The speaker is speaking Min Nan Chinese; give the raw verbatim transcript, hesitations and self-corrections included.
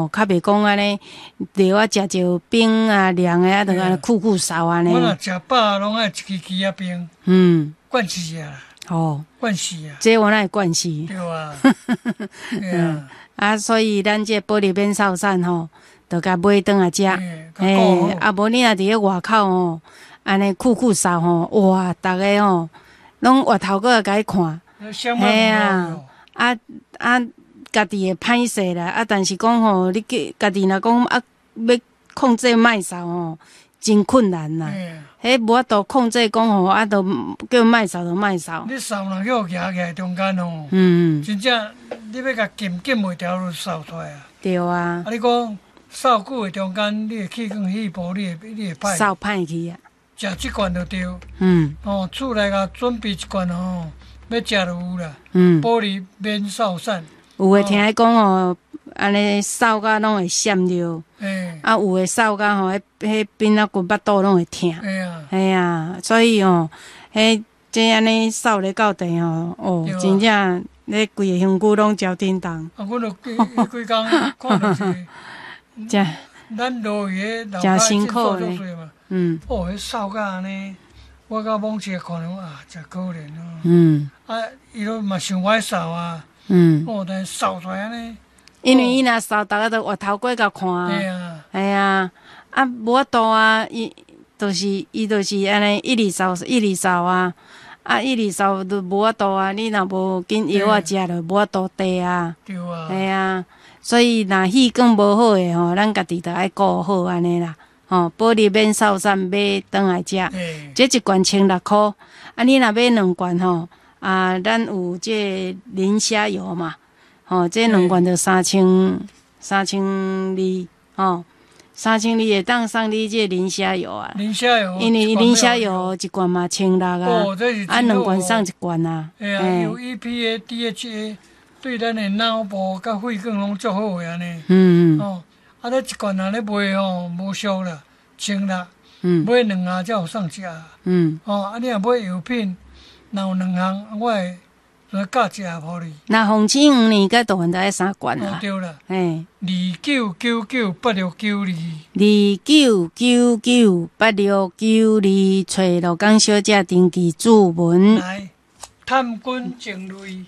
吼，較袂講按呢，著啊食著冰啊涼的啊，就按呢酷酷捎按呢。我若食飽攏愛一支枝仔冰。嗯。慣勢啊。哦。慣勢啊。這我哪會慣勢？對啊。對啊。啊，所以咱這保利免掃散吼，就共買轉來食。嘿，啊無你若佇咧外口吼，按呢酷酷捎吼，哇，逐个吼，攏回頭過來共你看。嘿啊，啊啊，家己會歹勢啦，啊，但是講吼，你叫家己若講啊，欲控制莫捎吼，真困難啦。彼無法度控制講吼，啊，都叫莫捎就莫捎。你捎若叫蜈起來中間吼，嗯，真正你欲共禁禁袂牢就捎出來啊。對啊。啊，你講捎久的中間，你的氣管肺部，你會你會歹。捎歹去啊。食這罐就對。嗯。哦，厝內共準備一罐吼，欲食就有啦。嗯。保利免捎散。有的聽講吼，按呢捎甲攏會閃著。啊，有的捎甲吼，彼彼邊仔骨腹肚攏會疼。嘿啊，所以吼，彼這按呢捎咧到地吼，哦，真正咧規個身軀攏焦叮當。啊，阮就彼幾工看著是，真咱落去彼真辛苦呢。嗯。哦，彼捎甲按呢，我甲罔市看著啊，真可憐哦。嗯。啊，伊都嘛想愛捎啊。嗯。哦，但是捎出來按呢。因為伊若捎，逐个都回頭過共看。對啊。嘿啊，啊，無法度啊，伊就是伊就是按呢，一直捎，一直捎啊，啊，一直捎都無法度啊。你若無緊藥仔食，就無法度地啊。對啊。嘿啊，所以若氣管無好的吼，咱家己著愛顧好按呢啦。吼，保利免捎散買轉來食，這一罐千六箍。啊，你若買兩罐吼，啊，咱有這磷蝦油嘛。吼，這兩罐就三千三千二，吼，三千二會當送你這磷蝦油啊。磷蝦油，因為磷蝦油一罐嘛千六啊，啊兩罐送一罐啊。嘿啊，有 E P A、D H A，對咱的腦部佮血管攏足好的按呢。嗯嗯。哦，啊，這一罐若咧賣吼，無俗啦，千六。嗯。買兩盒才有送一盒。嗯。哦，啊，你若買藥品，若有兩項，我會來加一盒予你。那紅星黃年佮大漢就愛三罐啊。對啦。嘿。二九九九八六九二。二九九九八六九二，揣鹿港小姐登記注文。來，探菌淨類。